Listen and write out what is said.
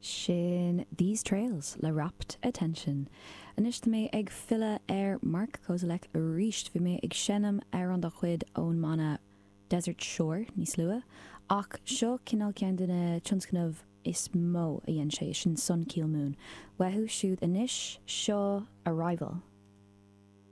Sin These Trails le Rapt Attention. Anois tá mé ag filleadh ar Mark Kozelek arís. Bhí mé ag seinm amhrán dá chuid ón mbanna Desert Shore níos luaithe, ach seo cineál ceann de na tionscnaimh is mó a dhein sé, sin Sun Kil Moon. Uathu siúd anois, seo Arrival.